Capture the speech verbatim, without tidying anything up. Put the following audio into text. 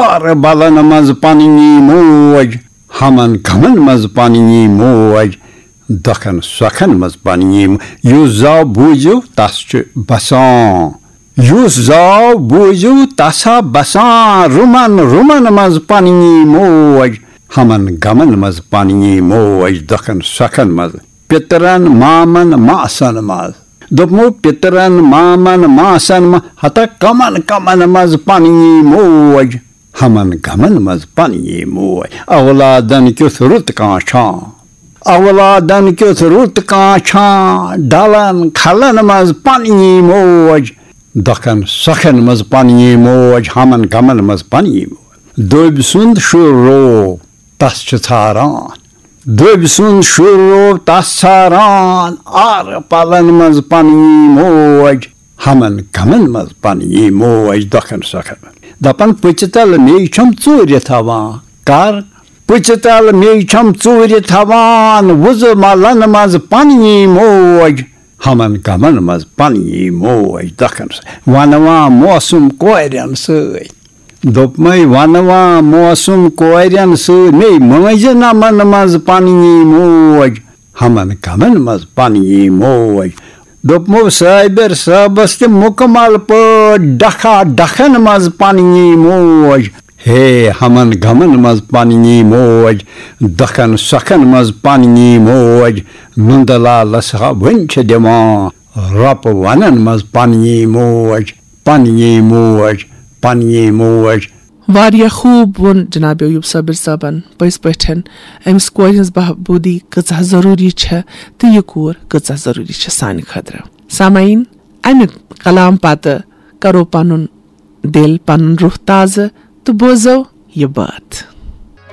ہر بلن منٛز پننی موج، ہمن غمن منٛز پننی موج، دۄکھن سۄکھن منٛز پننی مو-، یُس زاو بوٗزِو تس چھُ بسان۔ یُس زاو بوٗزِو تس ہا بسان، رُمن رُمن منٛز پننی موج، ہمن غمن منٛز پننی موج، دۄکھن سۄکھن منٛز، پِترن مامن ماسن منٛز۔ دوٚپمو پِترن مامن ماسن منٛز، ہتا کمن کمن منٛز پننی موج، ہمن غمن منٛز پننی موج۔ اولادن کیُتھ رُت کانٛہہ چھان، اولادن کیُتھ رُت کانٛہہ چھان، ڈلن کھلن منٛز پننی موج، دۄکھن سۄکھن منٛز پننی موج، ہمن غمن منٛز پننی موج۔ دٔبۍ سُنٛد شُر روو، تس چھِ ژھاران۔ دٔبۍ سُنٛد شُر روو، تس ژھاران۔ آرٕ پلن منٛز پننی موج، ہمن غمن منٛز پننی موج، دۄکھن سۄکھن۔ دپان پٔژِ تل مے چھم ژوٗرِ تھاوان۔ کر؟ پٔژِ تل مے چھم ژوٗرِ تھاوان، وُزٕ ملن منٛز پننی موج، ہمن غمن منٛز پننی موج، دۄکھن سۄ-، ونوان موسم کورٮ۪ن سۭتۍ۔ دوٚپمَے ونوان موسم کورٮ۪ن سۭتۍ، مے مٲنزِ نمن منٛز پننی موج، ہمن غمن منٛز پننی موج۔ دوٚپمو صابر صٲبس تہِ مُکمل پٲٹھۍ، ڈکھا ڈکھن منٛز پننی موج۔ ہے ہمن غمن منٛز پننی موج، دۄکھن سۄکھن منٛز پننی موج۔ نُندٕ لالس ہا وُنہِ چھِ دِوان رۄپہٕ ونن منٛز پننی موج، پننی موج، پننی موج۔ واریاہ خوٗب ووٚن جناب ایوب صابر صٲبن۔ پٔزۍ پٲٹھۍ أمِس کورِ ہٕنٛز بہبوٗدی کۭژاہ ضروٗری چھےٚ تہٕ یہِ کوٗر کۭژاہ ضروٗری چھےٚ سانہِ خٲطرٕ۔ سامعیٖن، امہِ کلام پتہٕ کرو پنُن دِل، پنُن روح تازٕ تہٕ بوزو یہِ بٲتھ۔